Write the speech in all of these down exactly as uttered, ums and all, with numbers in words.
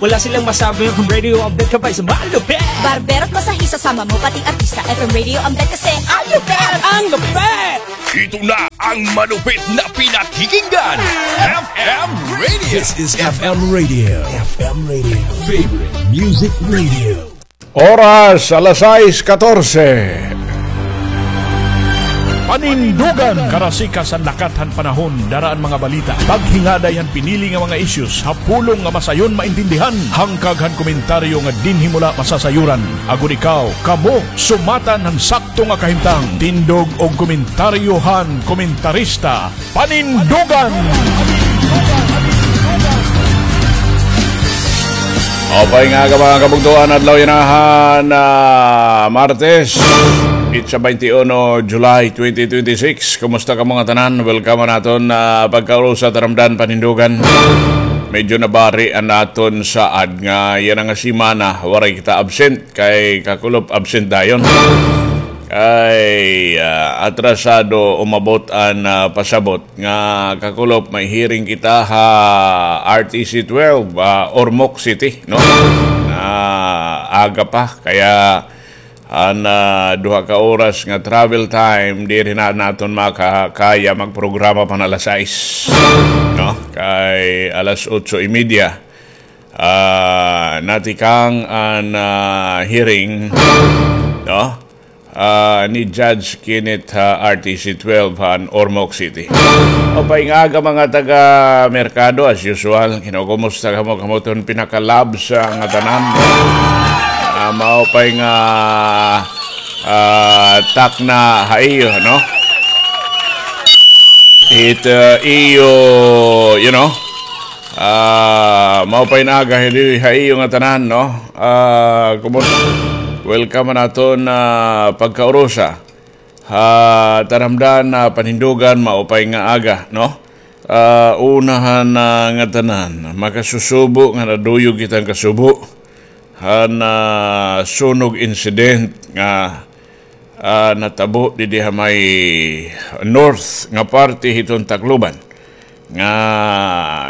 Wala silang masabi, F M Radio Update ka pa, isa malupit! Barbero at masahista, sama mo pati artista, F M Radio Update kasi ang lupit! Ang lupit! Ito na ang malupit na pinakikinggan, F M Radio. This is F M Radio. F M Radio. Favorite Music Radio. Oras, alas sais katorse. Panindugan, karasika san lakat han panahon, dara an mga balita. Paghingaday han pinili nga mga issues ha pulong nga masayon maintindihan, hangkag han komentaryo nga dinhi mo la masasayuran. Agod ikaw, kamo, sumatan han sakto nga kahimtang. Tindog og komentaryo han komentarista. Panindugan! Maupay nga aga, mga kabugtoan, adlaw yana han, ah, Martes, petsa twenty-one July twenty twenty-six. Kumusta kamo ngatanan? Welcome han aton, ah, pagkaurusa, taramdan, panindugan. Medyo nabari an aton saad nga yana nga semana waray kita absent, kay kakulop absent dayon. Kay, ah, atrasado umabot an, ah, pasabot nga kakulop may hearing kita ha R T C twelve, ah, Ormoc City, no? Na aga pa, kaya an, ah, duha ka oras nga travel time, diri na naton makakaya magprograma pa han alas sais, no? Kay alas otso y media, ah, natikang an, ah, hearing, no? Ah, ni Judge Kenneth, ah, R T C twelve han Ormoc City. Maupay nga aga, mga taga Merkado, as usual. Kinukumusta kamo, kamo ton pinaka-labs nga tanan. Ah, maupay nga, ah, takna ha iyo, no? It, ah, iyo, you know, ah, maupay nga aga hidi ha iyo ngatanan, no? Ah, kumus-, welcome han aton, ah, pagkaurusa. Ha, taramdan, ah, panindugan, maupay nga aga, no? Ah, una han, ah, ngatanan, makasusubo nga naduyog kita han kasubo han, ah, sunog incident nga, ah, natabo didi ha may north nga parte hiton Tacloban, nga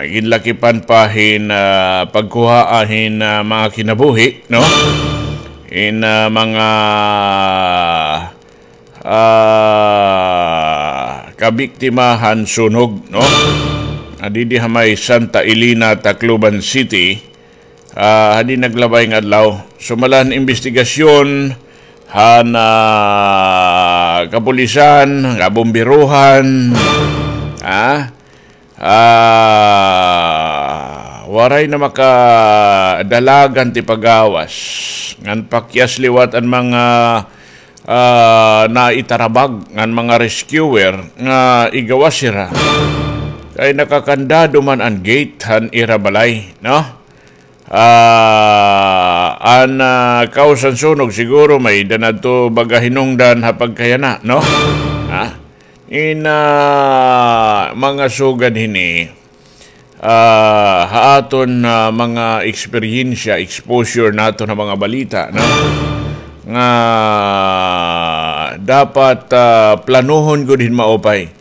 ginlakipan pa hin, ah, pagkuhaa hin, ah, mga kinabuhi, no? Hin, ah, mga, ah, kabiktima han sunog, no? Ah, didi ha may Santa Elena, Tacloban City, ah, hadi naglabay nga adlaw. Sumala han imbestigasyon han, ah, kapulisan, kabomberohan, ah, ah, waray na makadalag an tipagawas. Ngan pakyas liwat an mga, ah, naitarabag ngan mga rescuer nga igawas hira. Kay nakakandado man an gate han ira balay, no? Ah, an, ah, cause han sunog siguro may-ada adto baga hinungdan ha pagkayana, no? Ha? In, ah, mga sugad hini, ah, ha aton, ah, mga eksperyensya, exposure naton ha mga balita, no? Nga dapat, ah, planohon gud hin maupay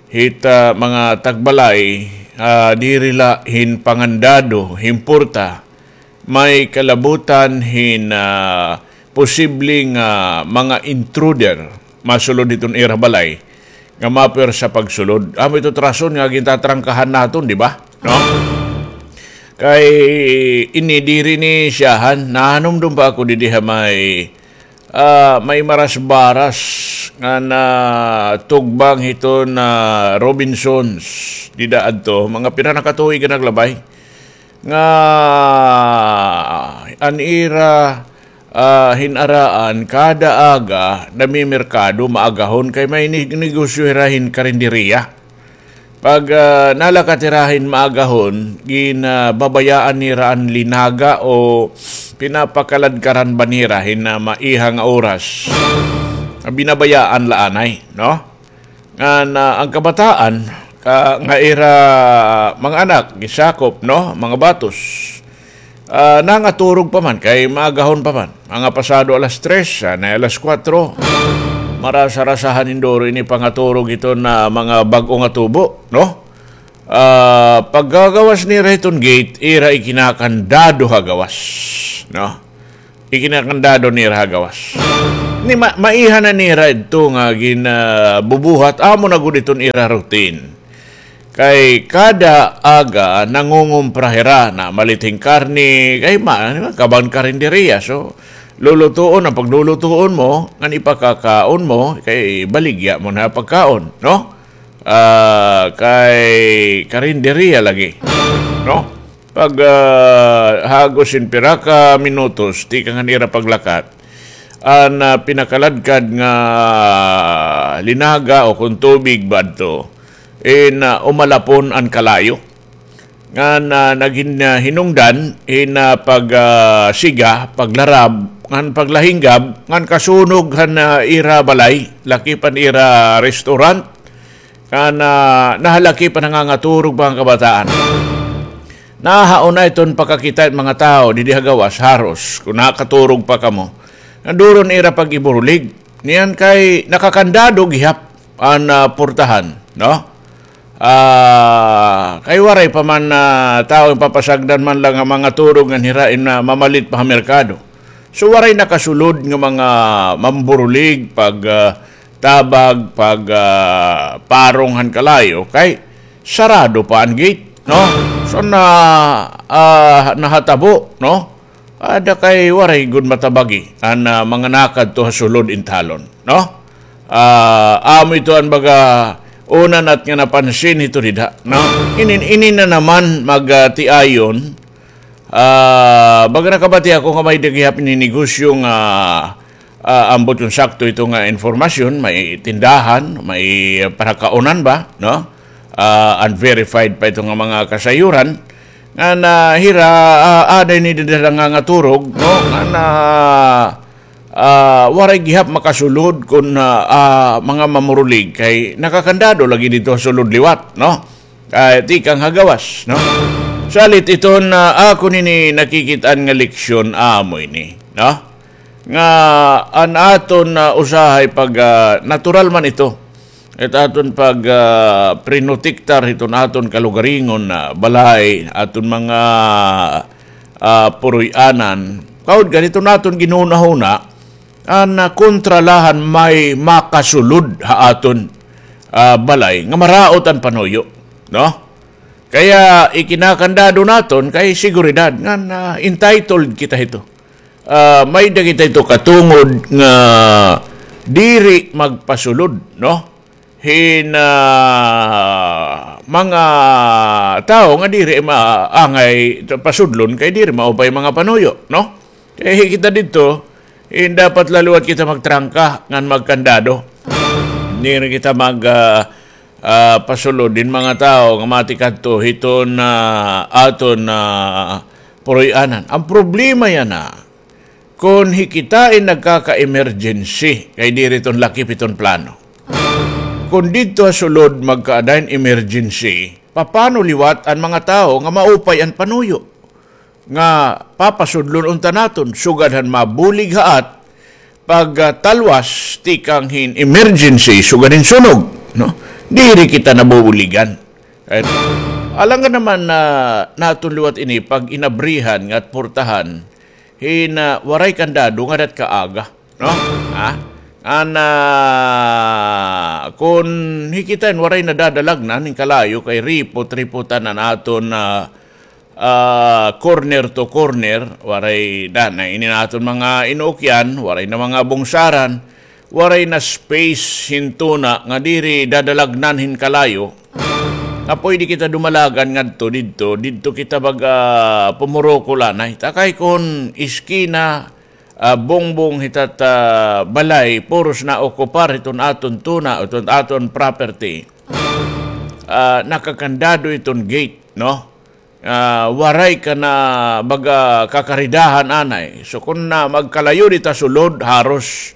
hit, ah, mga tagbalay, ah, diri la hin pangandado, hin porta, may kalabutan hin, ah, posibleng, ah, mga intruder masulod hiton ira balay nga mapwersa pagsulod. Amo ito rason nga gintatrangkahan naton, di ba? No? Kay ini diri ni siyahan, nahanumdom pa ako didi ha may, ah, may marasbaras nga natugbang hiton Robinsons dida adto, mga pira na ka tuig nga naglabay. Nga an ira, ah, hin-araan kada aga namimerkado maagahon kay may ni-, negosyo hira hin karinderiya. Pag, ah, nalakat hira hin maagahon, gin, ah, babayaan nira an linaga o pinapakaladkaran ba nira hin, ah, maiha nga oras. Binabayaan la anay, no? Ngan, ah, an kabataan, ka-, nga ira mga anak, gisakop, no, mga batos, ah, nangaturog pa man, kay maagahon pa man. Mga pasado alas tres, anay alas kuwatro. Marasa-rasahan hin duro ini pangaturog hiton mga bag-o nga tubo, no? Ah, pagkagawas nira hiton gate, ira ikinakandado ha gawas, no? Ikinakandado nira ha gawas. Ni ma-, maiha na nira ito nga gin-, ah, bubuhat, amo na gud iton ira routine. Kay kada aga nangungumpra hira, namalit hin karne, kay ma-, kaban karinderiya. So, lulutuon, an paglulutuon mo, ngan ipakakaon mo, kay baligya mo na pagkaon, no? Ah, kay karinderiya lagi, no? Pag, ah, hagos hin pira ka minutos, tikang han ira paglakat, an, ah, pinakaladkad nga linaga o kon tubig ba adto, in, ah, umalapon an kalayo. Ngan, ah, naghin-, ah, hinungdan hin, ah, pag, ah, siga, paglarab, ngan paglahinggab, ngan kasunog han, ah, ira balay, lakip an ira restaurant, ngan, ah, nahalakip an nangangaturog, mga kabataan. Nahauna iton pakakita hin mga tawo didi ha gawas, haros, kon nakaturog pa kamo. Nanduron ira pag-iburulig. Niyan kay nakakandado gihap an, ah, portahan, no? Ah, kay waray pa man, ah, tawo ipapasagdan man la nga mangaturog ngan hira in, ah, mamalit pa ha merkado. So, waray nakasulod nga mga mamburulig pag, ah, tabag, pag, ah, parong han kalayo, kay sarado pa an gate, no? So, na, ah, nahatabo, no? Ada kay waray gud matabagi an, ah, mga nakadto ha sulod intalon, no? Ah, amo ito an baga una nat nga napansin hito dida, no? Inin, ini na naman mag, ah, tiayon, ah, baga nakabati ako nga may-ada gihap ini negosyo nga, ah, ambot kon sakto ito nga informasyon, may tindahan, may parakaunan ba, no? Ah, unverified pa ito nga mga kasayuran. Ngan, ah, hira, ah, ada ini dida nangangaturog, no? Ngan, ah, ah, waray gihap makasulod kon, ah, ah, mga mamurulig kay nakakandado lagi didto ha sulod liwat, no? Kay tikang ha gawas, no? Salit iton, ah, akon ini nakikit-an nga leksyon amo ini, no? Nga an aton, ah, usahay pag, ah, natural man ito. It aton pag, ah, prinotektar hiton aton kalugaringon nga balay, aton mga, ah, puroy-anan. Kaud gad hiton aton ginhunahuna, an, ah, kontra la han may makasulod ha aton, ah, balay nga maraot an panuyo, no? Kaya ikinakandado naton kay seguridad ngan, ah, entitled kita hito. Ah, may-ada kita hito katungod nga diri magpasulod, no? Hin, ah, mga tawo nga diri maangay pasudlon kay diri maupay mga panuyo, no? Kay kita didto, hin dapat la liwat kita magtrangka ngan magkandado. Diri kita mag, ah, ah, pasulod hin mga tawo nga matikadto hiton, ah, aton, ah, puroy-anan. An problema yana, kon hi kita in nagkaka-emergency, kay diri iton lakip hiton plano. Kon didto ha sulod magkaada hin emergency, papano liwat an mga tawo nga maupay an panuyo nga papasudlon unta naton, sugad han mabulig ha at pagtalwas tikang hin emergency, sugad hin sunog, no? Diri kita nabubuligan. Kay alangan naman na naton liwat ini pag-inabrihan nga portahan hin, ah, waray kandado ngada it kaaga, no? Ha? An, ah, kon hi kita in waray nadadalagnan hin kalayo kay ripot-ripotan an aton, ah, ah, corner to corner, waray na, na ini an aton mga inuukyan, waray na mga bungsaran, waray na space hin tuna nga diri dadalagnan hin kalayo. Nga pwede kita dumalagan ngadto didto, didto kita baga pumurokol anay. Ta kay kon iskina, ah, bungbong hita it, ah, balay, puros naokupar hiton aton tuna, hiton aton property. Ah, nakakandado iton gate, no? Ah, waray ka na baga kakaridahan anay. So, kon na magkalayo dida ha sulod, haros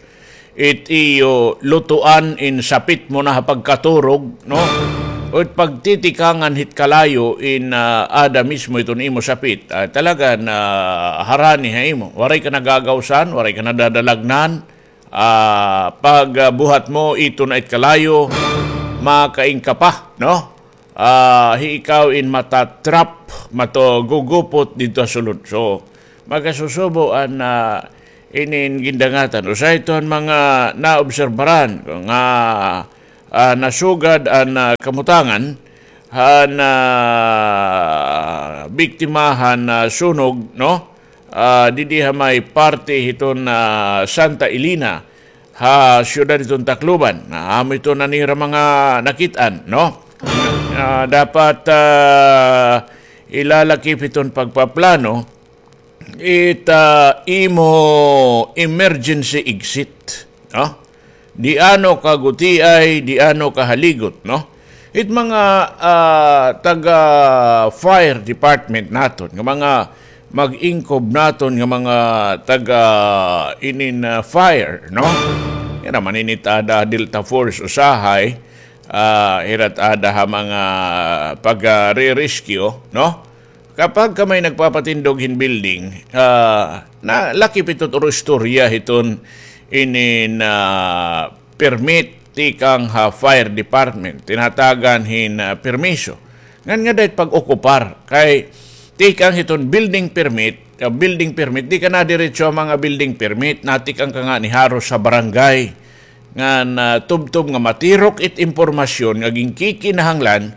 it iyo lutuan in sapit mo na ha pagkaturog, no? O it pagtitikangan hit kalayo in, ah, ada mismo iton imo sapit. Ah, talaga na harani ha imo. Waray ka nagagawsan, waray ka nadadalagnan. Ah, pag, ah, buhat mo, ito na it kalayo, makaingka pa, no? ah, hi ikaw in matatrap, matugugupot didto ha sulod. So, magkasusubo an, ah, inin gindangatan. Usa ito han mga naobserbaran nga, ah, nasugad an, ah, kamutangan han, ah, biktima han, ah, sunog, no? Ah, didi ha may parte hiton, ah, Santa Elena, ha siyudad hiton Tacloban. Na amo ito na nira mga nakit-an, no? Ah, dapat, ah, ilalakip hiton pagpaplano it, ah, imo emergency exit, no? Di ano ka gutiay, di ano ka haligot, no? It mga, ah, taga fire department naton, nga mga mag-ingkob naton nga mga taga inin, ah, fire, no? Hira man ini it aada Delta Force usahay, ah, hira it aada ha mga pag, ah, re-rescue, no? Kapag ka may nagpapatindog hin building, ah, na lakip ito or istorya hiton inin, ah, permit tikang ha fire department, tinatagan hin, ah, permiso. Ngan ngada it pag-okupar, kay tikang hiton building permit, ah, building permit, di ka nadiretso ha mga building permit, natikang ka ngani haros ha barangay. Ngan, ah, tubtob nga matirok it impormasyon nga ginkikinahanglan,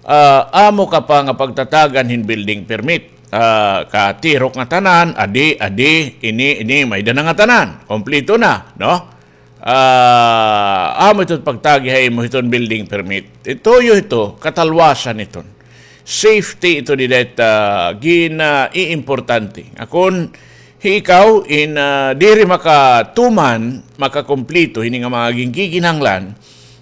ah, amo ka pa nga pagtatagan hin building permit. Ah, katirok nga tanan, adi, adi, ini, ini, may-ada na ngatanan, kompleto na, no? Ah, amo ito pagtagi ha imo hiton building permit. Ito yo ito, katalwasan iton. Safety ito dida it, ah, gin, ah, iimportante. Akon, hi ikaw, in, ah, diri makatuman, makakumpleto, hini nga mga ginkikinahanglan,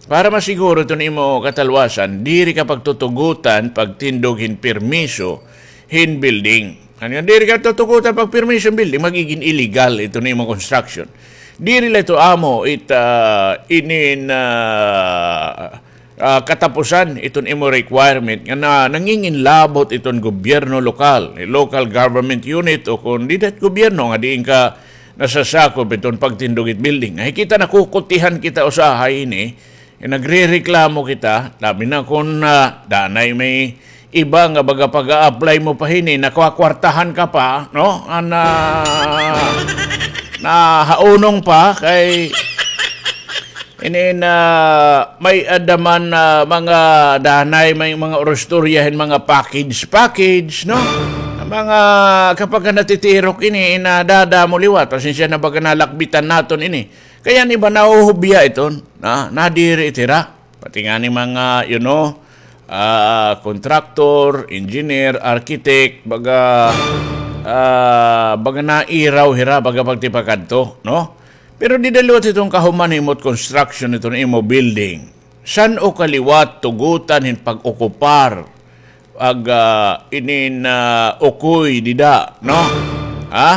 para masiguro iton imo katalwasan, diri ka pagtutugutan, pagtindog hin permiso, hin building. Ano nga diri ka tutugutan pagpirmiso hin building, magigin illegal iton imo construction. Diri la ito amo it, ah, inin, ah, ah, katapusan iton imo requirement nga na, nanginginlabot iton gobyerno lokal, local government unit, o kon dida it gobyerno nga diin ka nasasakop iton pagtindog it building. Ay kita, nakukutihan kita usahay ini, eh, nagrereklamo kita, labi na kon, ah, danay may iba nga baga pag-a-apply mo pa hini, nakakwartahan ka pa, no? An, ah, nahaunong pa kay ini na may-ada man, ah, mga danay, may mga uristorya hin mga package, package, no? Mga kapag natitirok ini, nadadamo liwat, pasensya na baga nalakbitan naton ini. Kay an iba nahuhubya iton, na, nadiri it hira. Pati ngani mga, you know, ah, contractor, engineer, architect, baga, ah, baga nairaw hira, baga pagtipakadto, no? Pero dida liwat iton kahuman himo it construction hiton imo building. San-o ka liwat tugutan hin pag-okupar, ag, ah, inin, ah, ukoy dida, no? Ha?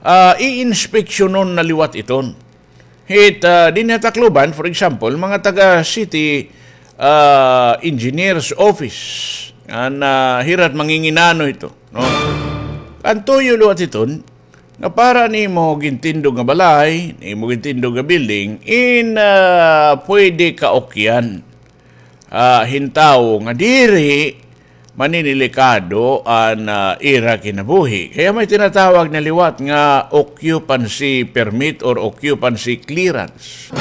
Ah, iinspeksyonon na liwat iton. Hit, ah, dinhi ha Tacloban, for example, mga taga city, ah, engineer's office, an, ah, hira it manginginano hito, no? An tuyo liwat hiton, nga para nimo gintindog nga balay, nimo gintindog nga building, in, ah, pwede kaukyan, ah, hin tawo nga diri maninilikado an, ah, ira kinabuhi. Kay may tinatawag na liwat nga occupancy permit or occupancy clearance.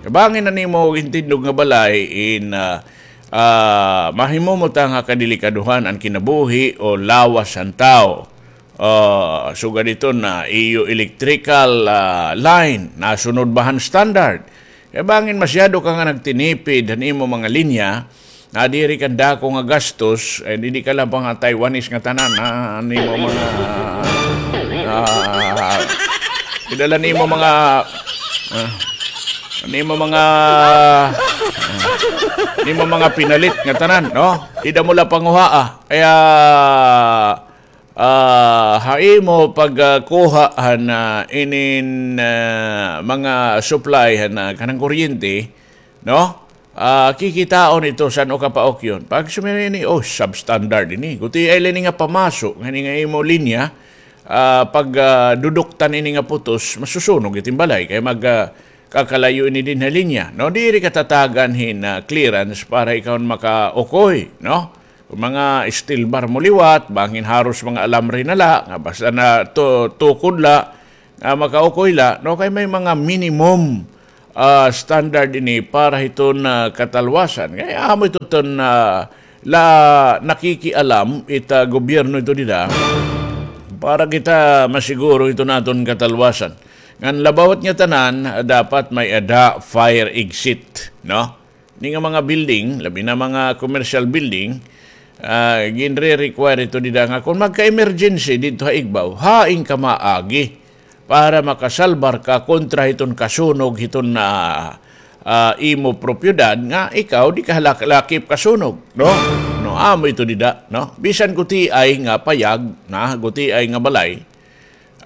Kay bangin na nimo gintindog nga balay in, ah, ah, mahimo mo ta nga kadelikadohan an kinabuhi o lawas han tawo. Ah, sugad hiton, iyo electrical, ah, line, nasunod ba han standard? Kay bangin masyado ka nga nagtinipid han imo mga linya, nadiri ka hin dako nga gastos, eh, didi ka la pa nga Taiwanese nga tanan, ah, an imo mga, ah, idala nimo mga, ah, an imo mga, ah, an imo mga pinalit nga tanan, no? Dida mo la panguhaa. Kaya, ah, ha imo pag, ah, kuha han, ah, inin, ah, mga supply han, ah, kanang kuryente, no? Ah, kikitaon ito san-o ka paukyon. Pag sumira ini, oh, substandard ini. Gutiay la ini nga pamaso, ngani nga imo linya, ah, pag, ah, duduktan ini nga putos, masusunog it im balay. Kay mag, ah, kakalayo ini dinhi ha linya, no? Diri ka tatagan hin, ah, clearance para ikaw makaukoy, no? Kon mga steel bar mo liwat, bangin haros mga alambre na la, nga basta na to-, tukod la, nga makaukoy la, no? Kay may mga minimum, ah, standard ini para hiton, ah, katalwasan. Kay amo ito ton, ah, la nakikialam it, ah, gobyerno ito dida para kita masiguro ito naton katalwasan. Ngan labaw hit nga tanan, dapat may-ada fire exit, no? Ini nga mga building, labi na mga commercial building, ah, ginre-require ito dida nga kon magka-emergency didto ha igbaw, hain ka maagi para makasalbar ka kontra hiton kasunog hiton, ah, ah, imo propiedad nga ikaw di ka halak-, lakip kasunog, no? No, amo ito dida, no? Bisan gutiay nga payag, na, gutiay nga balay,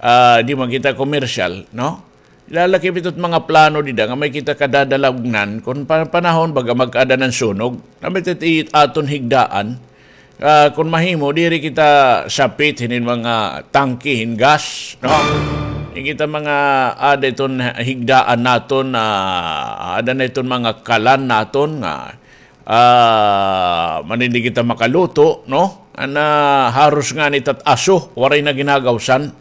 ah, di man kita commercial, no? Lalakip ito mga plano dida nga may kita kadadalagnan kon pa-, panahon baga mag-ada hin sunog. Namit it aton higdaan. Ah, kon mahimo, diri kita sapit hinin mga tangke hin gas, no? Di kita mga ada iton higdaan naton, ah, ada na iton mga kalan naton nga ah, man ini kita makaluto, no? An, ah, haros ngani tat-aso, waray na ginagawsan.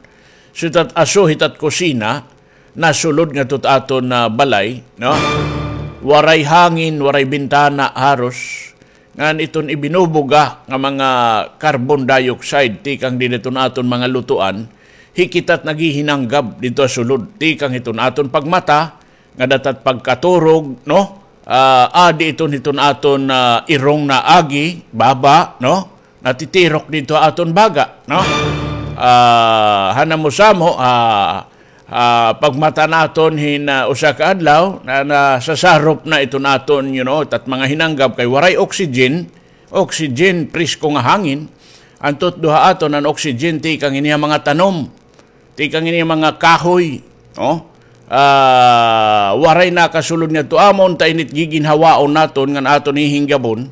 So tat-aso, hitat kusina, nasulod ngadto ha aton, ah, balay, no? Waray hangin, waray bintana, haros. Ngan iton ibinubuga nga mga carbon dioxide, tikang dida hiton aton mga lutuan, hikita't naghihinanggab didto ha sulod, tikang hiton aton pagmata, nga datat pagkaturog, no? Ah, adi iton hiton aton, ah, irong na agi, baba, no? Natitirok didto ha aton baga, no? Ah, hanamo-samo, ah, ah, pagmata naton hin, ah, usa ka adlaw, na, nasasarop na iton aton, you know, tat mga hinanggab kay waray oxygen, oxygen, presko nga hangin. An tutdo ha aton an oxygen tikang hini ha mga tanom. Tikang ini mga kahoy, no? Ah, waray nakasulod ngadto amon, ta init giginhawaon naton ngan aton hihinggabon.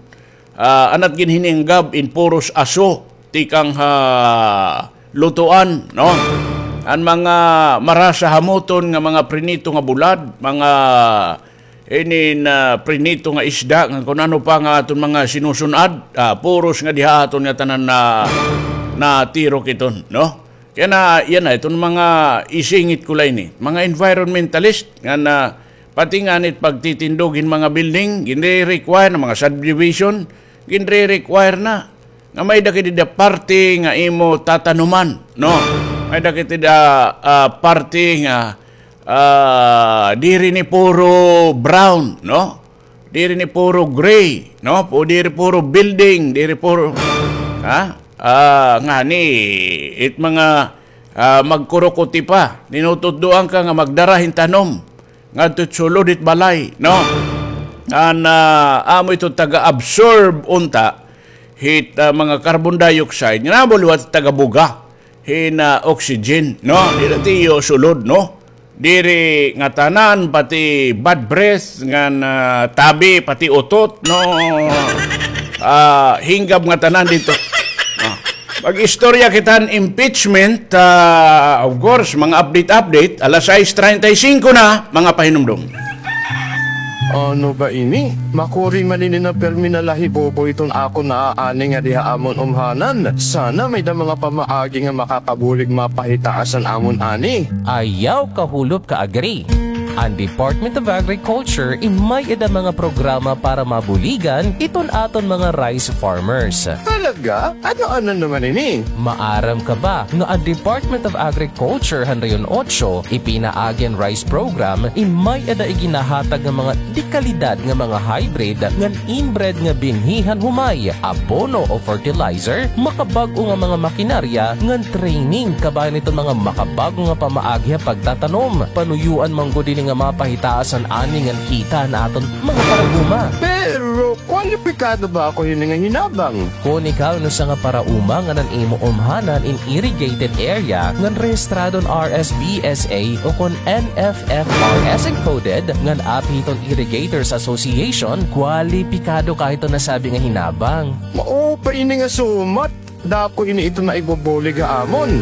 Ah, an at ginhininggab in puros aso, tikang ha lutuan, no? An mga marasa hamoton nga mga prinito nga bulad, mga inin, ah, prinito nga isda, nga kun ano pa nga aton mga sinusun-ad, ah, puros nga diha aton nga tanan na, natirok iton, no? Kaya na, yana, iton mga isingit ko la ini. Mga environmentalist, nga na, pati ngani it pagtitindog hin mga building, ginre-require na mga subdivision, ginre-require na. Nga may-ada kay dida parte nga imo tatanuman, no? May-ada kay dida, ah, parte nga, ah, diri ni puro brown, no? Diri ni puro gray, no? Pu-, diri puro building, diri puro, ha? Ah, ngani, it mga, ah, magkurukuti pa, tinututdoan ka nga magdara hin tanom ngadto sulod hit balay, no? An, ah, amo ito taga-absorb unta hit, ah, mga carbon dioxide, nga namo liwat tagabuga hin, ah, oxygen, no? Diri tiyo sulod, no? Diri ngatanan, pati bad breath, ngan, ah, tabi, pati utot, no? Ah, hinggab ngatanan didto. Ah. Mag-istorya kita hin impeachment, ah, of course, mga update-update, alas sais treinta y cinco na, mga pahinumdom. Ano ba ini? Makuri man ini na pirmi na lahibobo iton akon naaani ngadi ha amon umhanan. Sana may-ada mga pamaagi nga makakabulig mapahitaas an amon ani. Ayaw kahulop ka-agri. An Department of Agriculture in may-ada mga programa para mabuligan iton aton mga rice farmers. Talaga? Ano-ano naman ini? Maaram ka ba nga an Department of Agriculture han Rehiyon Otso ipinaagi an rice program in may-ada iginahatag nga mga dekalidad nga mga hybrid ngan inbred nga binhi han humay, abono o fertilizer, makabag-o nga mga makinarya ngan training kabahin iton mga makabag-o nga pamaagi ha pagtatanom. Panuyoan man gud ini nga mapahitaas an ani ngan kita han aton mga paraoma. Pero kwalipikado ba ako hini nga hinabang? Kon ikaw in usa nga paraoma ngan an imo umhanan in irrigated area ngan rehistrado han R S B S A o kon N F F R S encoded ngan api hiton Irrigators Association, kwalipikado ka hiton nasabi nga hinabang. Mao pa ini nga sumat, dako ini iton maibubulig ha amon.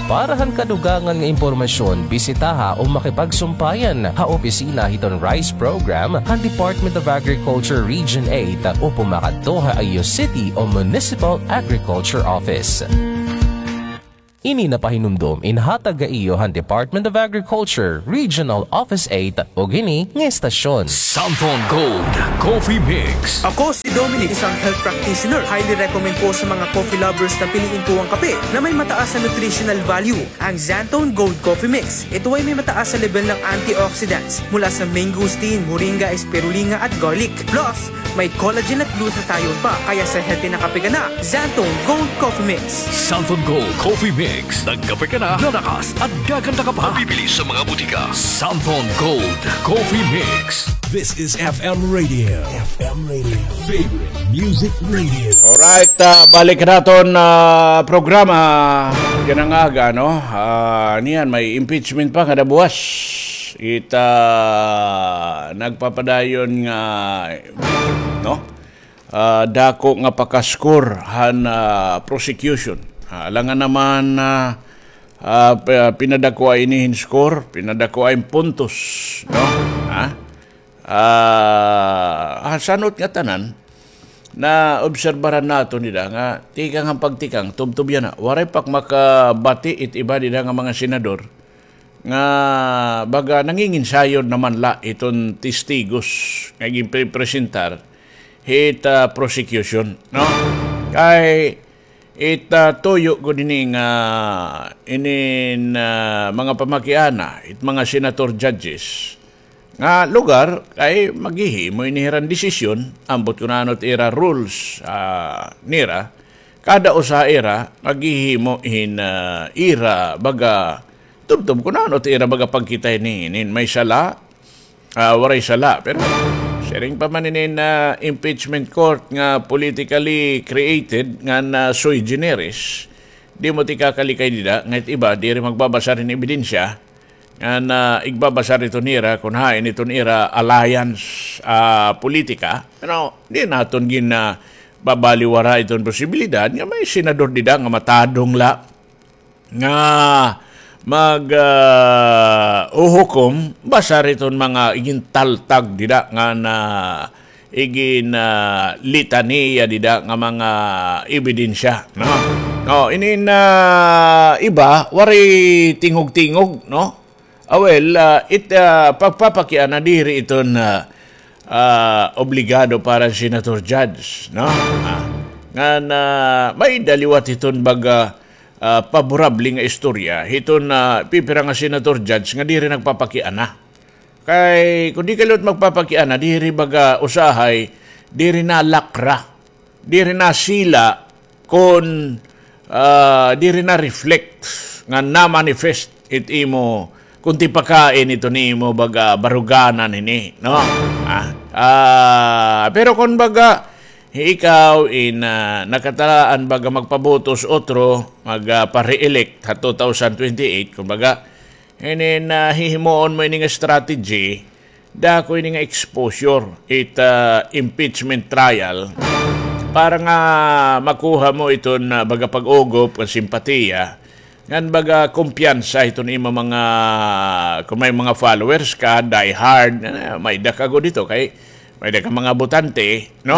Para han kadugangan nga impormasyon, bisitaha o makipagsumpayan ha opisina hiton RISE program han Department of Agriculture Region eight o pumakadto ha iyo city o municipal agriculture office. Ini napahinumdom inhatag ha iyo han Department of Agriculture Regional Office eight ug ini nga estasyon. Santhon Gold Coffee Mix. Ako si Dominic, isang health practitioner. Highly recommend po sa mga coffee lovers na piliin po ang kape na may mataas na nutritional value, ang Xanthone Gold Coffee Mix. Ito ay may mataas na level ng antioxidants mula sa mangosteen, moringa, spirulina at garlic. Plus, may collagen at glutathione pa, kaya sa healthy na kape ka na, Xanthone Gold Coffee Mix. Santhon Gold Coffee Mix. Nagkape ka na, lalakas at gaganda ka pa. Mabibili sa mga butika. Santhon Gold Coffee Mix. This is F M Radio. F M Radio. Favorite Music Radio. Alright, ah, balik naton, ah, programa. Kanang aga, no? Ah, niyan, may impeachment pa kada buwas. Ita nagpapadayon nga, no? Ah, dako nga pakaskor han, ah, prosecution. Ah, alangan naman, ah, ah, pa-, pinadako ini hin score, pinadako in puntos, no? Ha? Ah, ah, sanot nga tanan, naobserbaran naton dida nga tikang han pagtikang, tubtob yana. Waray pa makabati it iba dida nga mga senador nga baga nanginginsayod naman la iton testigos nga ginprepresentar hit, ah, prosecution, no? Kay it, ah, tuyo gud ini nga inin, ah, mga pamakiana, it mga senator judges, nga lugar kay maghihimo ini hiran desisyon, ambot kun ano it ira rules, ah, nira, kada usa ira maghihimo hin, ah, ira baga tubtob kun ano it ira baga pagkita ini, inin may sala, ah, waray sala. Pero siring pa man inin, ah, impeachment court nga politically created ngan sui generis, di mo tikakalikay dida nga it iba diri magbabasar hin ebidensya, ngan igbabasar ito nira kun hain iton ira alliance, ah, politika. Pero di naton gin, ah, babaliwara iton posibilidad nga may senador dida nga matadong la nga mag, ah, uhukom basar iton mga igintaltag dida nga na igin, ah, litaniya dida nga mga ebidensya, no? Oh, inin, ah, iba, waray tingog-tingog, no? Ah, well, ah, it, ah, pagpapakiana diri iton, ah, ah, obligado para Senator Judge, no? Ah, ngan, ah, may-ada liwat iton baga, ah, paborable nga istorya hiton, ah, pipira nga Senator Judge nga diri nagpapakiana. Kay kun di ka liwat magpapakiana, diri baga usahay, diri nalakra, diri nasila, kun, ah, diri na-reflect nga na-manifest it imo, kun tipakain ito nimo baga baruganan ini, no? Ah, ah, pero kun baga, ikaw in, ah, nakatalaan baga magpabotos otro, mag, ah, pa-re-elect ha two thousand twenty-eight, kumbaga, inin, ah, hihimuon mo ini nga strategy, dako ini nga exposure it, ah, impeachment trial para nga makuha mo iton, ah, baga pag-ugop nga simpatiya, ngan baga kumpiyansa iton imo mga, kun may mga followers ka, die hard, ah, may-ada ka gud ito kay may-ada ka mga botante, no?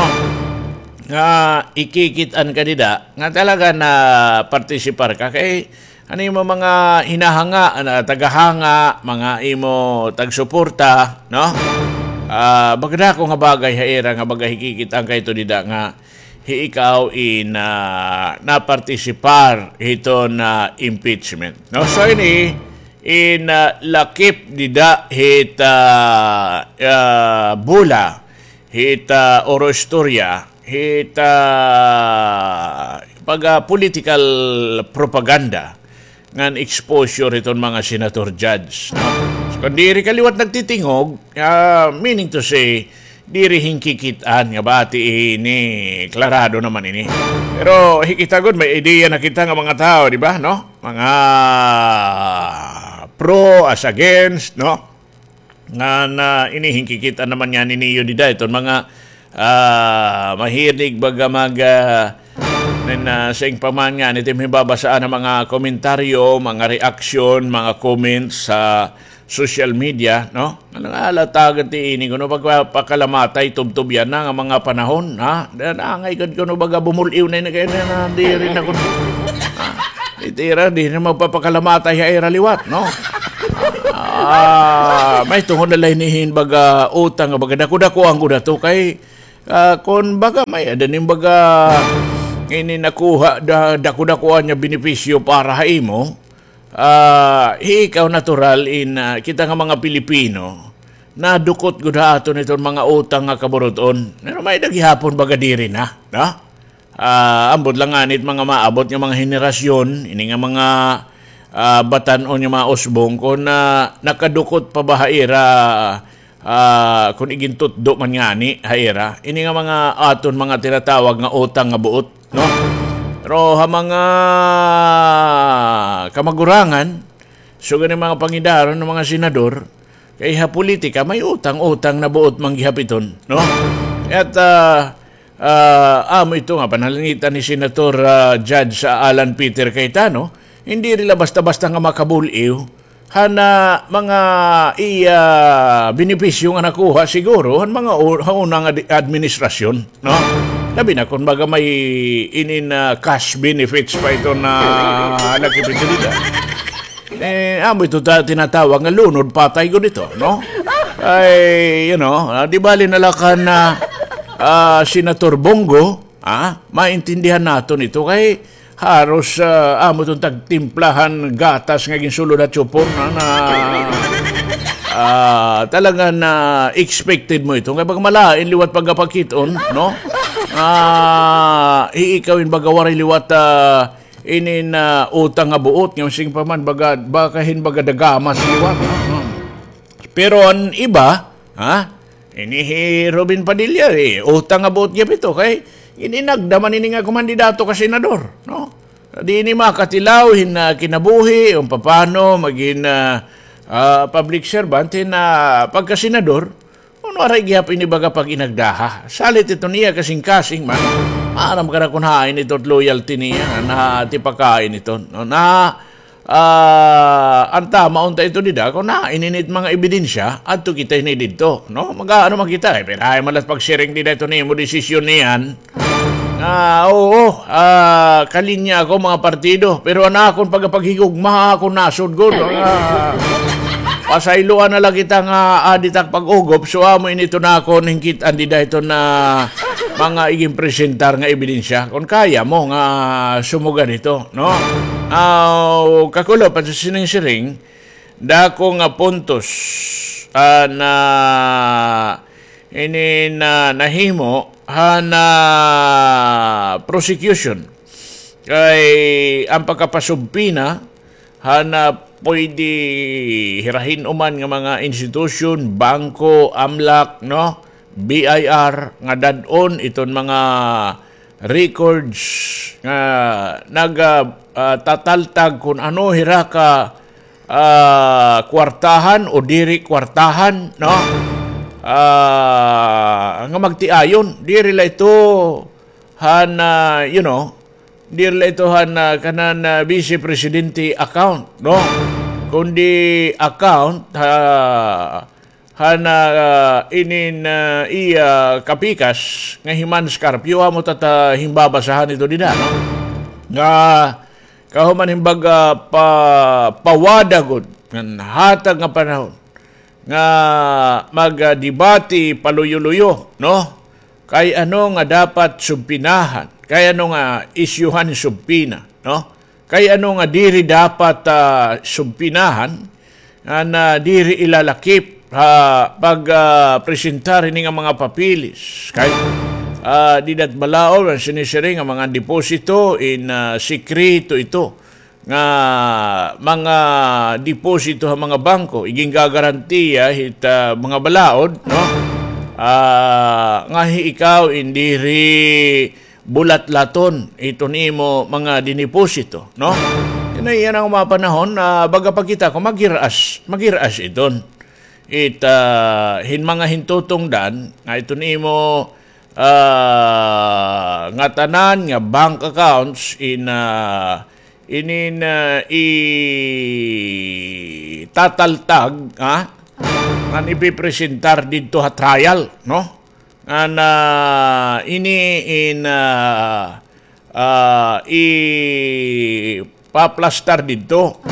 Nga ikikit-an ka dida nga talaga napartisipar ka kay an imo mga hinahanga, an, ah, tagahanga, mga imo tagsuporta, no? Ah, baga dako nga bagay ha ira nga baga hikikit-an ka ito dida nga hi ikaw in, ah, napartisipar hiton, ah, impeachment, no? So ini in, ah, lakip dida hit, ah, ah, bula, hit, ah, oro istorya, hit, ah, pag, ah, political propaganda ngan exposure hiton mga senator judge, no? So, kun diri ka liwat nagtitingog, ah, meaning to say, diri hinkikit-an nga bati ini, klarado naman ini. Pero hikita gud, may ideya na kita nga mga tawo, di ba, no? Mga pro as against, no? Nga na ini hinkikit-an naman niyan niyo dida iton mga, ah, mahilig baga mag, ah, And, ah, sa ingpaman nga, nito hibabasaan an mga komentaryo, mga reaksyon, mga comments sa social media, no? Ano nga, halatagan ti ini, kuno pagpakalamatay, tubtob yana nga mga panahon, ha? Dan, angay gud kuno baga bumul-iw na ini kay na, na, diri na kuno. Ha? Itira, di na magpapakalamatay ha ira liwat, no? Ah, may tungod na la ini hin baga utang, baga dako-dako an gud ato kay, ah, kun baga may-ada nim baga ini nakuha da, dako-dako an niya benepisyo para ha imo, ah, hi ikaw natural in, ah, kita nga mga Pilipino, nadukot gud ha aton iton mga utang nga kaburut-on. Pero may-ada gihapon baga diri na, no? Ah, ambot la ngani it mga maabot nga mga henerasyon, ini nga mga, ah, batan-on nga mga usbong, kun, ah, nakadukot pa ba ha ira, ah, kun igintutdo man ngani ha ira, ini nga mga aton mga tinatawag nga utang nga buot, no? Pero ha mga kamagurangan, sugad ni mga pangidaron nga mga senador, kay ha politika, may utang-utang na buot man gihap iton, no? At, ah, Ah, amo ito nga panalangitan ni Senator, ah, Judge, ah, Alan Peter Cayetano, hindi rila basta-basta nga makabul-iw han mga iya benepisyo nga nakuha siguro han mga u-, ha una nga di-, administrasyon, no? Labi na kun baga may inin, ah, cash benefits pa ito na halakip ito dida. Eh, amo ito ta-, tinatawag nga lunod patay gud ito, no? Ay, you know, ah, di bali na la kan, ah, ah, Senator Bong Go, ah, maintindihan naton ito kay haros, ah, amo iton tagtimplahan gatas nga ginsulod ha tsupo, no, na, ah, talaga na expected mo ito. Kay pag malain liwat pagkapakit-on, no? Ah, hi ikaw in baga waray liwat, ah, inin, ah, utang nga buot, nga sige pa man, baga, baka hin baga dagamas liwat, ha? Hmm. Pero an iba, ha? Ini hi Robin Padilla, eh, utang nga buot gihap ito, kay ininagda man ini nga kumandidato ka senador, no? Di ini makatilaw hin, ah, kinabuhi, kung papano magin, ah, ah, public servant, hin, ah, pagkasenador, Kun waray gihap ini baga pag-inagdaha. Salit ito niya kasingkasing man. Maaram ka na kun hain ito it loyalty niya, na tipakain ito. No, na, ah, an tama unta ito dida, kun hain ini it mga ebidensya, adto kita ini didto. No? Mag-aano man kita, eh, pero hain man la it pagsiring dida ito nimo, desisyon niyan. Ah, oo, ah, kalinya ako, mga partido. Pero an akon pagapaghigugma, ha akon nasod gud. Ah, pasayloan na la kita nga adi tak pag-ugop. So, amo ini iton akon hingkit-an dida iton mga iginpresentar nga ebidensya. Kun kaya mo nga sumugan ito, no? Ah, kakulop, an sining siring, dako nga puntos, ah, na ini na nahimo han prosecution. Kay an pagkapasubpina han pwede hira hin-o man nga mga institusyon, bangko, amlak, no? B I R, nga dad-on iton mga records nga nag, ah, ah, tataltag kun ano hira ka ah, kwartahan o diri kwartahan, no? Ah, nga magtiayon, diri la ito han, ah, you know, diri la ito han, ah, kanan, ah, Vice Presidente account, no? Kundi account, ha, han, ah, inin, ah, iya kapikas nga hi Mans Carpio, amo ta ta himbabasahan ito dida, no? Nga kahuman hin baga pa, pawada gud ngan hatag nga panahon nga magdebate paluyo-luyo, no? Kay ano nga dapat subpinahan, kay ano nga isyuhan hin subpina, no? Kay ano nga diri dapat, ah, subpinahan, nga na diri ilalakip ha pag, ah, presentar hini nga mga papeles. Kay, ah, dida it balaod, an sinisiring nga mga deposito in, ah, sikreto ito nga mga deposito ha mga bangko, igingagarantiya hit, ah, mga balaod, no? Ah, nga hi ikaw in diri bulatlaton iton imo mga dineposito, no? Yana, yana nga mga panahon, ah, baga pa kita kon maghir-as, maghir-as iton. It, ah, hin mga hintutungdan nga iton imo, ah, ngatanan nga bank accounts in, ah, inin, ah, itataltag, ha? Ngan ipipresentar didto ha trial, no? Ngan, ah, ini in, ah, ah, ipaplastar didto.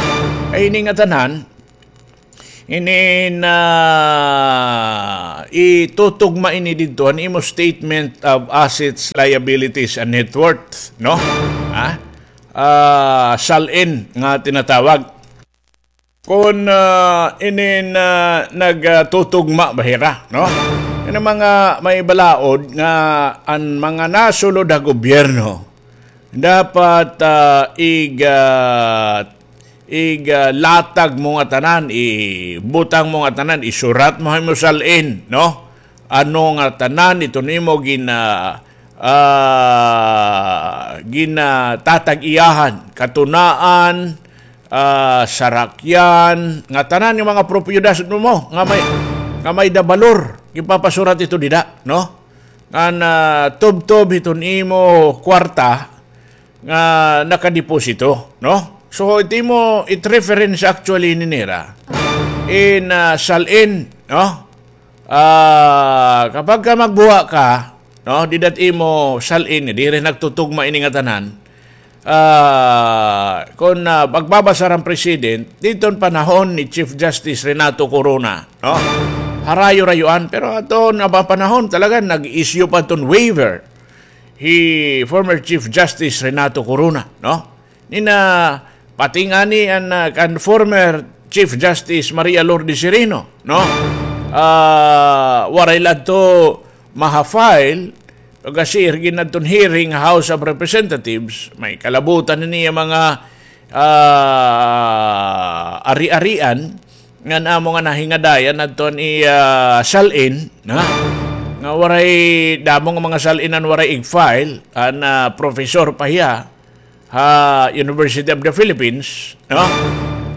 Ay, ini ngatanan, ini na itutugma ini didto han imo statement of assets, liabilities, and net worth, no? Ha? Ah, SALN nga tinatawag. Kon, ah, inin, ah, nagtutugma ba hira, no? Ini mga may balaod nga an mga nasulod ha gobyerno, dapat, ah, ig-, ah, ig-, ah, latag mo ngatanan, ibutang mo ngatanan, isurat mo ha imo SALN, no? Ano ngatanan iton imo gina-, ah, ginatatag-iyahan, katunaan, ah, sarakyan, ngatanan nga mga propiedad mo nga may, nga may-ada balor, ipapasurat ito dida, no? Ngan, ah, tubtob hiton imo kwarta nga nakadeposito, no? So, it imo, it reference actually ni nira in, ah, SALN, no? Ah, kapag ka magbuha ka, no, dida ha imo SALN, diri nagtutugma ini ngatanan. Ah, kon, ah, magbabasar an president, didto han panahon ni Chief Justice Renato Corona, no? Harayo-rayoan, pero aton nga panahon talaga nag-issue pa iton waiver hi former Chief Justice Renato Corona, no? Nina, pati ngani an, ah, kan former Chief Justice Maria Lourdes Sereno, no? Ah, waray la adto maha-file, pagkasirgi na adton hearing House of Representatives, may kalabutan ini nga mga, ah, ari-arian, ngan amo nga nahingadayan adto an iya SALN, na? Nga waray, damo nga mga SALN an waray ig-file, an, ah, professor pa hiya, ha University of the Philippines, no?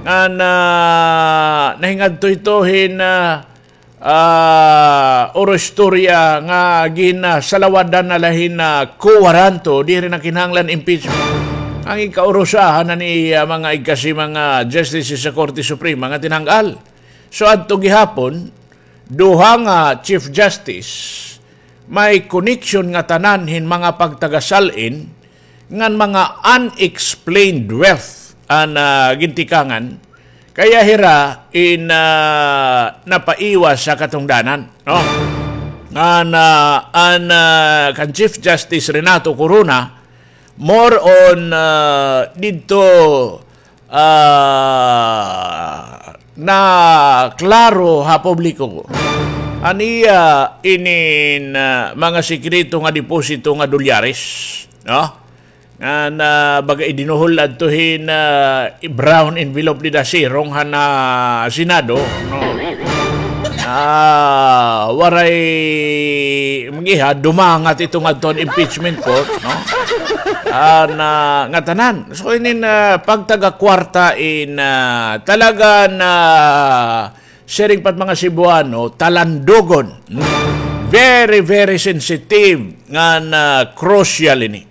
Ngan, ah, nahingadto ito hin, ah, ah, oro istorya nga ginasalawadan na la hin, ah, kuwaranto, diri na kinahanglan impeachment. An igkaurusahan na ni, ah, mga igkasi mga justices sa Korte Suprema nga tinanggal. So, adto gihapon, duha nga Chief Justice, may connection ngatanan hin mga pagtaga-SALN ngan mga unexplained wealth an, ah, gintikangan, kaya hira in, ah, napaiwas ha katungdanan, no? Ngan, ah, an, ah, kan Chief Justice Renato Corona, more on, ah, didto, ah, naklaro ha publiko an iya inin, ah, mga sekreto nga deposito nga dolyares, no? Nga na baga idinuhol adto hin, ah, brown envelope dida sirong han, ah, Senado, no? Ah, waray mag-iha, dumangat ito ngadto han impeachment court, no? Ah, na, ngatanan. So, inin, ah, pagtaga kwarta in, ah, talaga na siring pa it mga Cebuano, talandogon. Very, very sensitive ngan crucial ini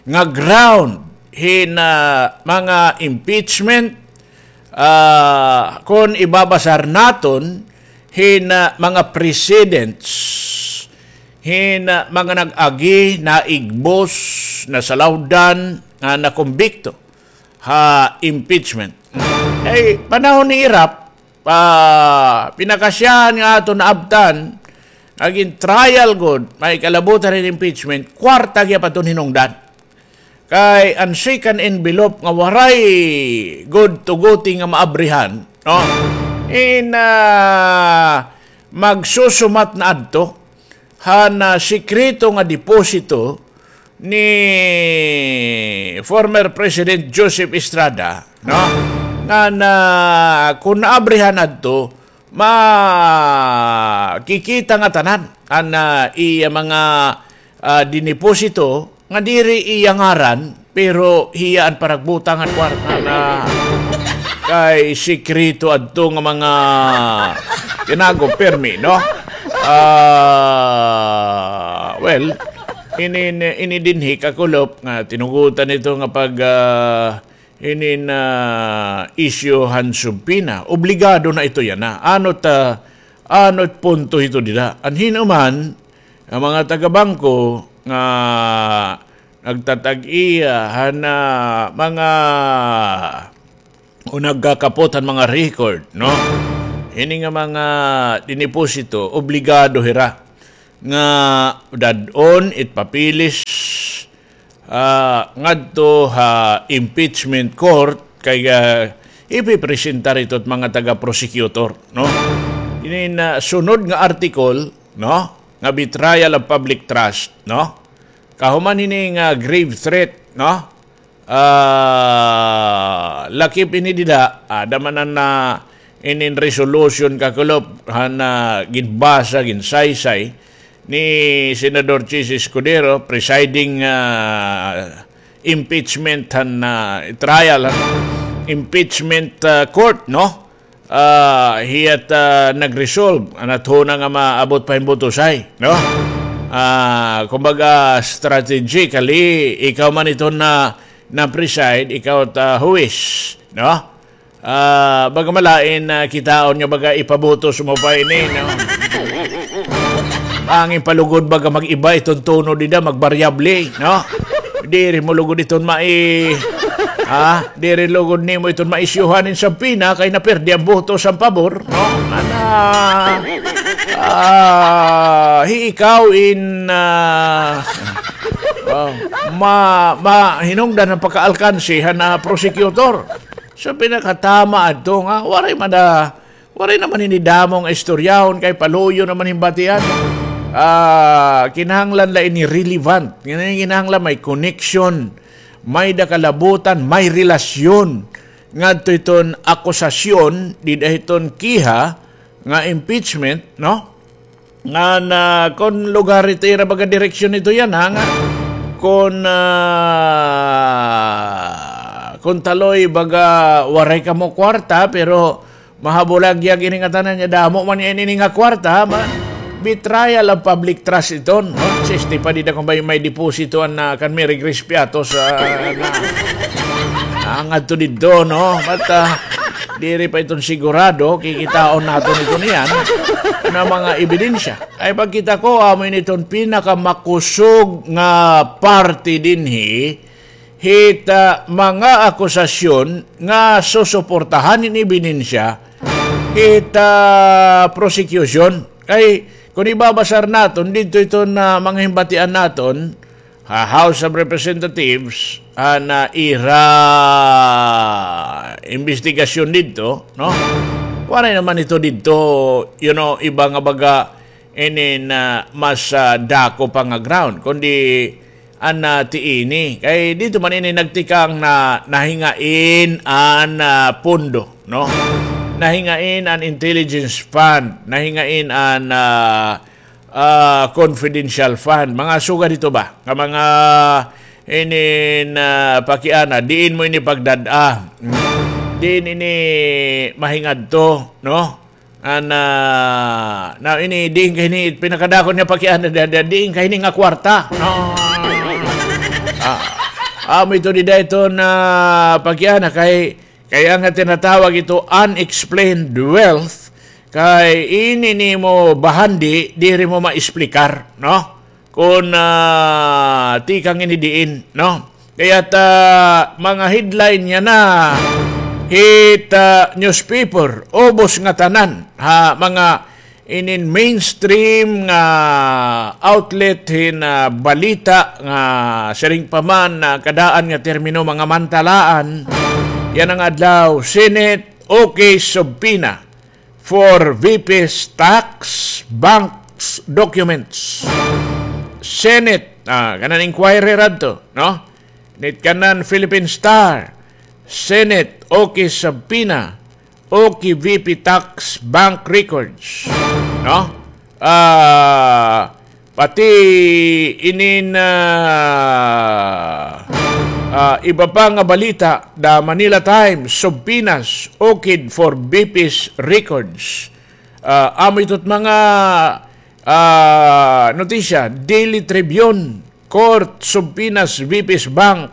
nga ground hin, ah, mga impeachment, ah, kon ibabasar naton hin, ah, mga precedents, hin, ah, mga nag-agi, naigbos, nasalawdan, nga nakumbikto ha impeachment. Kay panahon ni Erap, ah, pinakasyahan nga aton naabtan, nga gin-trial gud, may kalabutan hin impeachment, kwarta gihap aton hinungdan. Kay an second envelope nga waray gud tuguti nga maabrihan, no? In, ah, magsusumat na adto han, ah, sekreto nga deposito ni former President Joseph Estrada, no? Nga na, kon naabrihan adto, makikita ngatanan an, ah, iya mga, ah, dineposito nga diri iya ngaran, pero hiya an paragbutang han kwarta na kay sekreto adto nga mga tinago permi, no? Ah, well, ini, ini dinhi kakulop nga tinugutan ito nga pag, ah, ini na issue han subpoena. Obligado na ito yana. Ano ta, ano it punto ito dida? An hinuman, ang mga taga-bangko nga nagtatag-iya han, ah, mga o nagkakapot han mga record, no? Ini nga mga diniposito, obligado hira nga dad-on it papeles, ah, ngadto ha impeachment court kay, ah, ipipresentar ito it mga taga-prosecutor, no? Ini na sunod nga article, no? Nga betrayal of public trust, no? Kahuman hini nga grave threat, no? Ah, lakip ini dida, ada man an, ah, inin resolution kakulop han, ah, ginbasa, ginsaysay ni Senador Chiz Escudero, presiding, ah, impeachment han, ah, trial, han impeachment, ah, court, no? Ah, hiya't, ah, nag-resolve, an athona nga maabot pa hin butosay, no? Ah, kumbaga, strategically, ikaw man iton na, na-preside, ikaw ta huwis, no? Ah, baga malain na kitaon nga baga ipabutos mo pa ini, no? Angin palugod baga mag-iba iton tono dida, magbaryable, no? Diri mo lugod iton mai-, ah, diri lugod nimo iton maisyuhan hin subpoena kay naperde an boto sa pabor, no? Ana, ah, hi ikaw in, ah, ah, ma-, ma-, hinungdan an pagkaalkanse han, ah, prosecutor. So, pinakatama adto nga, waray man da, waray naman ini damo nga istoryahon kay paluyo naman hin batian. Ah, kinahanglan la ini relevant. Kinahanglan may connection, may da kalabutan, may relasyon ngadto iton akusasyon, dida hiton kiha nga impeachment, no? Nga na, kon lugar ito ira baga direksyon ito yana, nga kon, ah, kon taloy baga waray kamo kwarta, pero mahabulagyag ini ngatanan niya, damo man ini nga kwarta, ma-, betrayal of public trust iton, no? Siste pa dida kon may, may deposito an, ah, kan Mary Grace Piatos, ah, na, ah, ngadto didto, no? But, ah, diri pa iton sigurado, kikitaon naton ito niyan na mga ebidensya. Ay pagkita ko, amo ini iton pinakamakusog nga parte dinhi, hit, ah, mga akusasyon nga susuportahan hin ebidensya hit, ah, prosecution. Kay, kon ibabasar naton, didto iton, ah, mga himbatian naton, ha House of Representatives, an, ah, ira imbestigasyon didto, no? Waray naman ito didto, you know, iba nga baga, inin, ah, mas, ah, dako pa nga ground, kundi an, ah, tiini. Kay didto man ini nagtikang na nahingain an, ah, pondo, no? Nahingain an intelligence fund, nahingain an, ah, ah, confidential fund. Mga sugad hito ba? Nga mga inin, ah, pakiana, diin mo ini pagdad-a? Diin ini mahingadto, no? An, ah, na ini, diin kay ini, pinakadako niya pakiana, da-, da-, diin kay ini nga kwarta? No. Ah, amo ito dida ito na pakiana kay, kay an nga tinatawag ito unexplained wealth, kay ini nimo bahandi, diri mo maesplikar, no? Kon, ah, tikang ini diin, no? Kay ta, mga headline yana, hit, ah, newspaper, ubos ngatanan, ha, mga inin mainstream nga outlet hin, ah, balita nga siring pa man, ah, kadaan nga termino mga mantalaan, yana nga adlaw, Senate, okay, subpoena for V P's tax, banks, documents. Senate, ah, kanan inquiry radto, no? Nit kanan Philippine Star, Senate, okay subpoena, okay V P tax, bank records, no? Ah, pati inin, ah, ah, iba pa nga balita, The Manila Times, subpoenas, okid for V P's records. Ah, amo ito't mga Ah, notisya, Daily Tribune, Court subpoenas V P's bank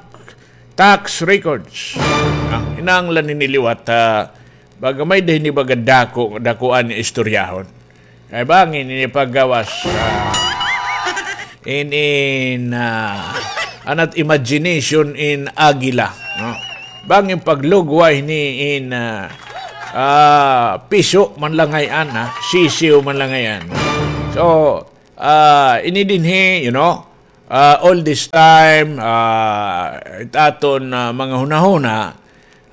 tax records. Ah, kinahanglan ini liwat, ah, baga may-ada ini baga dako, dakuan nga istoryahon. Kay bangin ini paggawas, ah, in, in, ah, anat imagination in agila, no? Bangin paglugway ni in, ah, ah, piso man la ngay-an, ha? Sisiw man la ngay-an. So, ah, ini dinhi, you know, ah, all this time, ah, it aton, ah, mga hunahuna,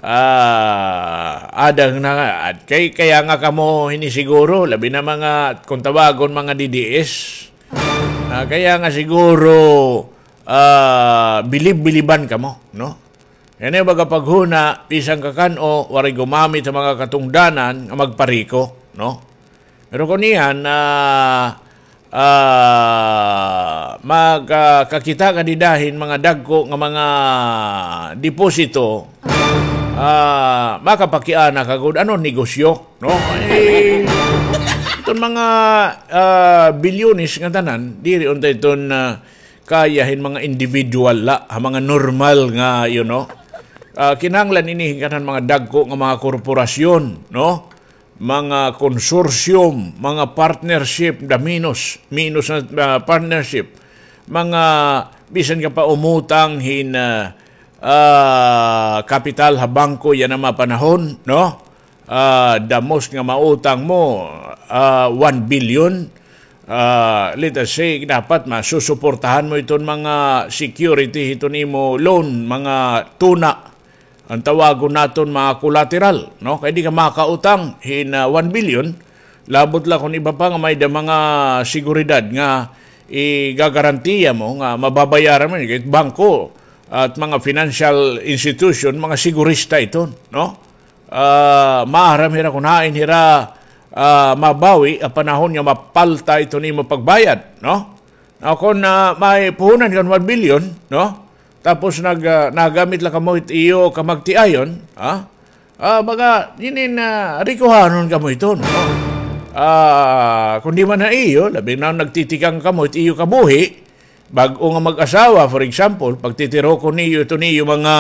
ah, ada na, kay, kaya nga kamo hini siguro, labi na mga, kung tawagon, mga D D S, ah, kaya nga siguro, ah, bilib-biliban kamo, no? Kay ini baga paghuna, bisan kakan-o, waray gumamit ha mga katungdanan nga magpariko, no? Pero kon iyan, ah, ah, mag, ah, kakita ka dida hin mga dagko nga mga deposito, ah, makapakiana ka gud ano negosyo, no? Eh, iton mga, ah, bilyones nga tanan, diri unta iton, ah, kaya hin mga individual la, ha mga normal nga, you know, ah, kinahanglan ini hin kanan mga dagko nga mga korporasyon, no? Mga consortium, mga partnership, the minus, minus na, ah, partnership, mga bisan ka pa umutang hin, ah, ah, kapital ha bangko yana mga panahon, no? Ah, the most nga mautang mo, ah, one billion. Ah, let us say, dapat masusuportahan mo iton mga security hiton imo loan, mga tuna. An tawagon naton mga collateral, no? Kay di ka makautang hin, ah, one billion, labot la kon iba pa nga may-ada mga seguridad nga igagarantiya mo nga mababayaran mo, kay bangko at mga financial institution, mga sigurista iton, no? Ah, maaram hira kon hain hira, ah, mabawi ha panahon nga mapalta iton imo pagbayad, no? Now, kon, ah, may puhunan ka hin one billion, no? Tapos nag-, ah, nagamit la kamo it iyo kamagtiayon, ha? Ah, baga, inin, ah, rikuhanon kamo iton, no? Ah, kon di man ha iyo, labi na nagtitikang kamo it iyo kabuhi, bag-o nga mag-asawa, for example, pagtitirokon niyo iton iyo mga,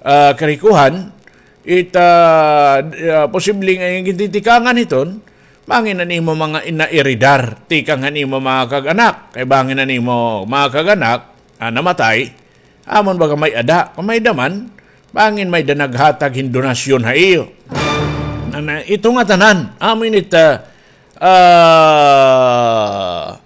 ah, karikuhan, it, ah, d-, ah, posible nga iyong gintitikangan hiton, bangin an imo mga inaeredar, tikang han imo mga kag-anak. Kay bangin an imo mga kag-anak, ah, namatay, amon baga may-ada, kon may-ada man, bangin may-ada naghatag hin donasyon ha iyo. Ana, ito nga tanan, amo ini it, ah, ah,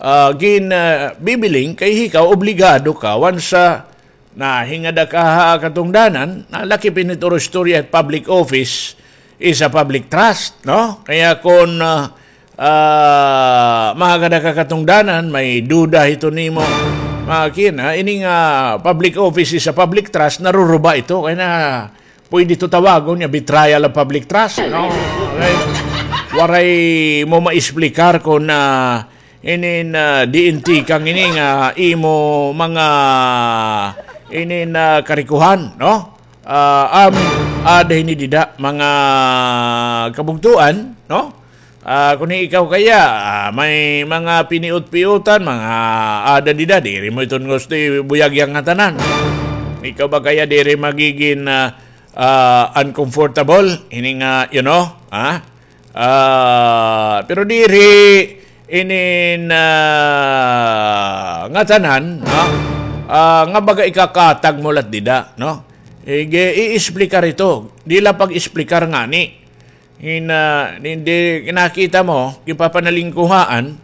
ah, gin, ah, bibiling kay ikaw obligado ka, once, ah, nahingada ka ha katungdanan, nalakip ini it oro istorya, public office is a public trust, no? Kaya kon, ah, ah, mahagada ka katungdanan, may duda hiton imo, mga kina, ini nga public office is a public trust, naruruba ito, kay na, pwede ito tawagon nga betrayal of public trust, no? Okay. Waray mo maexplikar kon, ah, inin, ah, diin tikang ini nga imo mga inin, ah, karikuhan, no? Ah, amin, ada ini dida, mga kabugtoan, no? Ah, kon ikaw kaya, ah, may mga piniot-piotan, mga ada dida, diri mo iton gusto ibuyag yang ngatanan. Ikaw ba kaya diri magigin, ah, ah, uncomfortable? Ini nga, you know, ha? Ah, pero diri inin, ah, ngatanan, ha? Ah, nga baga ikakatag mo lat dida, no? Ige, i-explicar ito. Di la pag-explicar ngani. Hin, ah, hindi, nakita mo, gipapanalingkuhaan,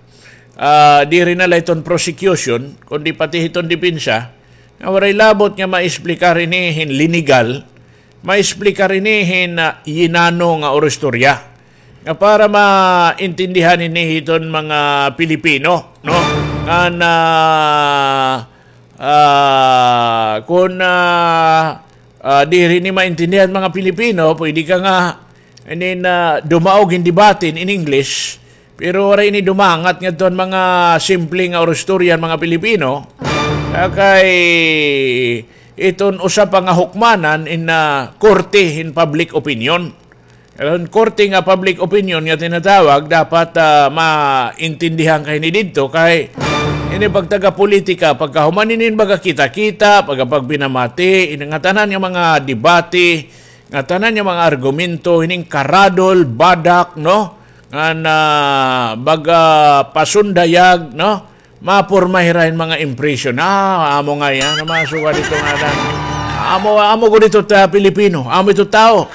ah, diri na la iton prosecution, kundi pati hiton depensa, nga waray labot nga maexplikar ini hin linegal, maexplikar ini hin, ah, yinano nga oro istorya. Nga para maintindihan ini hiton mga Pilipino, no? Nga na, ah, kon, ah, ah, diri ini maintindihan mga Pilipino, pwede ka nga, ini na dumaog hin debate in English, pero waray ini dumangat ngadto han mga simple nga oro istorya han mga Pilipino, ah, kay iton usa pa nga hukmanan in, ah, korte hin public opinion. Aron korte nga public opinion nga tinatawag, dapat, ah, maintindihan ka hini didto kay ini pagtaga-politika, pagkahuman hinin baga kita-kita, pagkapagpinamati, ini nga tanan nga mga debate, nga tanan nga mga argumento, hining karadol, badak, no? Nga na baga pasundayag, no? Mapurma hira hin mga impresyon. Ah, amo ngay-an, mga suga didto nga na. Amo, amo gud ito ta Pilipino, amo ito tawo.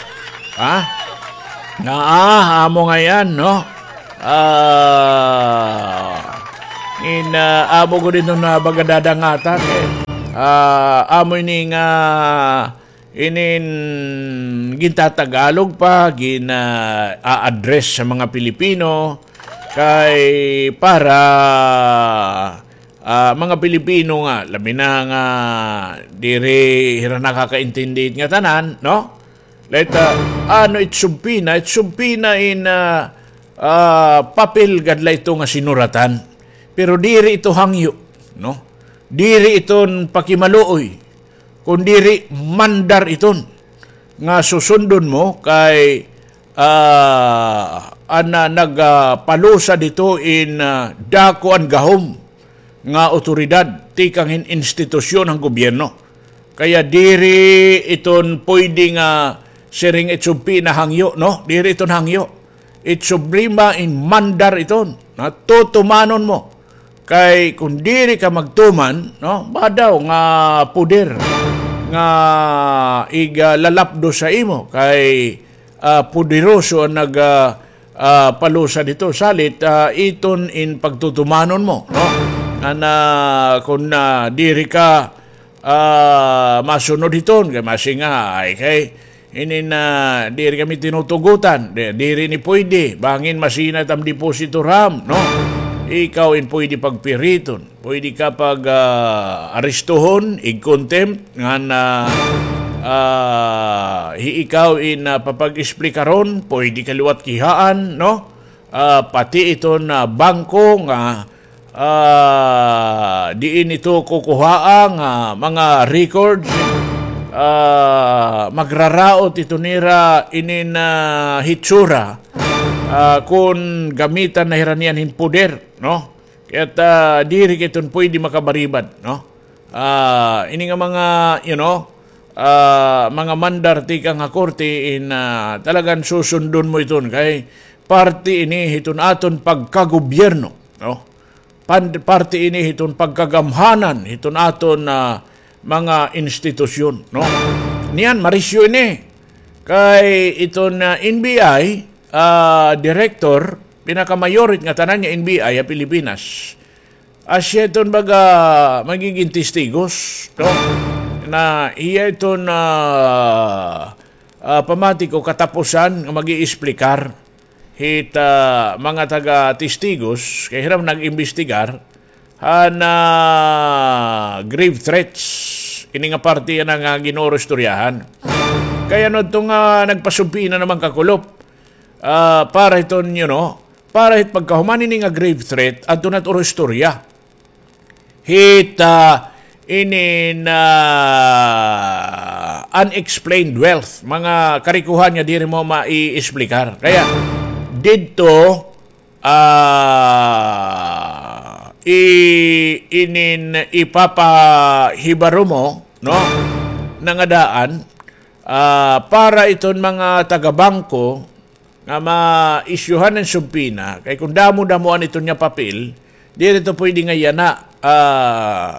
Ha? Nga, ah, amo ngay-an, no? Ah, in, ah, amo gud ito na baga dadangatan, eh. Ah, amo ini nga inin gintatagalog pa, gina-address sa mga Pilipino, kay para, ah, mga Pilipino nga, labi na nga diri hira nakakaintindi it ngatanan, no? Let, ah, ano it subpoena, it subpoena in, ah, ah, papel gad la ito nga sinuratan. Pero diri ito hangyo, no? Diri iton pakimaluoy, kun diri mandar iton nga susundon mo kay, ah, an, ah, nag, ah, palusad hito in, ah, dako an gahom nga awtoridad tikang hin institusyon han gobyerno. Kaya diri iton puyde nga siring it subpoena hangyo, no? Diri iton hangyo. It subpoena in mandar iton, no? Tutumanon mo. Kay kun diri ka magtuman, no, badaw nga poder nga iga lalapdo sa imo kay, ah, poderoso an nag, ah, ah, palusad hito. Salit, ah, iton in pagtutumanon mo, no? Nga na, kun, ah, diri ka ah, masunod hiton, kay masinga, ay kay, inin, ah, diri kami tinutugutan, di-, diri ini puyde, bangin masina it am depositor ha am, no? Ikaw in puyde pagpiriton, puyde ka pag, ah, arestohon, ig-contempt, ngan, ah, ah, hi ikaw in, ah, papag-esplikaron, puyde ka liwat kihaan, no? Ah, pati iton, ah, bangko nga, ah, diin ito kukuhaa nga mga records, ah, magraraot ito nira inin, ah, hitsura, ah, kun gamitan na hira niyan hin poder, no? Kaya't, ah, diri ka iton puyde makabaribad, no? Ah, ini nga mga, you know, ah, mga mandar tikang ha korte in, ah, talagan susundon mo iton kay parte ini hiton aton pagkagobyerno, no? Pan-, parte ini hiton pagkagamhanan hiton aton, ah, mga institusyon, no? Niyan, marisyo ini. Kay iton, ah, N B I, ah, director, pinakamayor it ngatanan niya N B I ha Pilipinas. Asya iton baga magigin testigos, no? Na hiya iton, ah, ah, pamati ko katapusan nga mag-iisplikar hit, ah, mga taga-testigos, kay hira man nag-imbestigar, han, ah, grave threats. Ini nga parte yana nga ginurustoryahan. Kay ano ito nga nagpasubpoena naman kakulop? Ah, para iton, you know, para hit pagkahuman ini nga grave threat, adto na it urustorya hit, ah, inin, ah, unexplained wealth, mga karikohan nga diri mo maiesplikar. Kaya, didto, ah, i-, inin ipapahibaro mo, no? Nangadaan, ah, para iton mga taga-bangko, nga ma-isyuhan hin subpoena, kay kun damo-damoan iton nga papel, diri ito puyde nga yana, ah,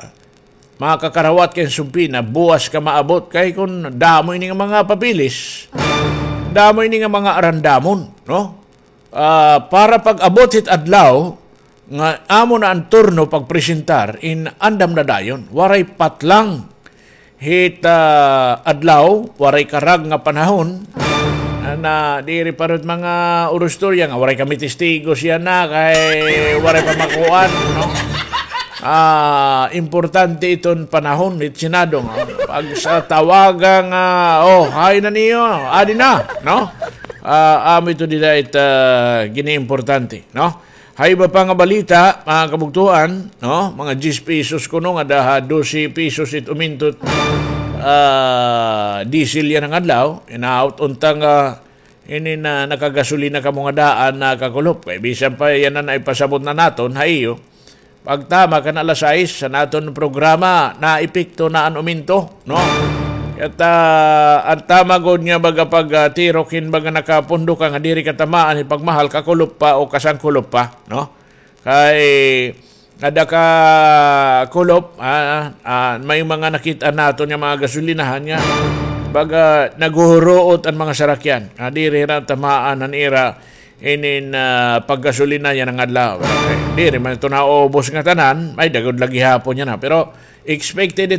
makakarawat ka hin subpoena, buwas ka maabot, kay kun damo ini nga mga papeles, damo ini nga mga arandamon, no? Ah, para pag-abot hit adlaw, nga amo na an turno pagpresentar, in andam na dayon. Waray patlang hit, ah, adlaw, waray karag nga panahon. Na diri pa rin mga urustorya nga waray kami testigos yana, kay waray pa makuan, no? Ah, importante iton panahon hit Senado nga. Pag sa tawaga nga, oh, hay na niyo, adi na, no? Ah, amo ito dida it, ah, giniimportante, no? Ha iba pa nga balita, mga kabugtoan, no? Mga diyes pesos kuno nga daha dose pesos it umintot, ah, diesel yana nga adlaw. Hinaot unta nga ini na nakagasolina kamo nga daan na kakulop. Kay bisan pa yana na ipasabot na naton ha iyo. Pagtama kan alas sais sa naton programa, naepekto na an uminto, no? Ket, ah, an tama gud nga baga pag, ah, tirok hin baga nakapundo ka nga diri ka tamaan hin pagmahal, kakulop pa o kasangkulop pa, no? Kay ada ka kulop, ah, ah, may mga nakit-an naton nga mga gasolinahan nga baga naghuhuruot an mga sarakyan. Ah, diri hira tamaan an ira inin, ah, paggasolina yana nga adlaw. Pero, eh, diri man ito naubos nga tanan, may-ada gud la gihapon yana. Pero expected ito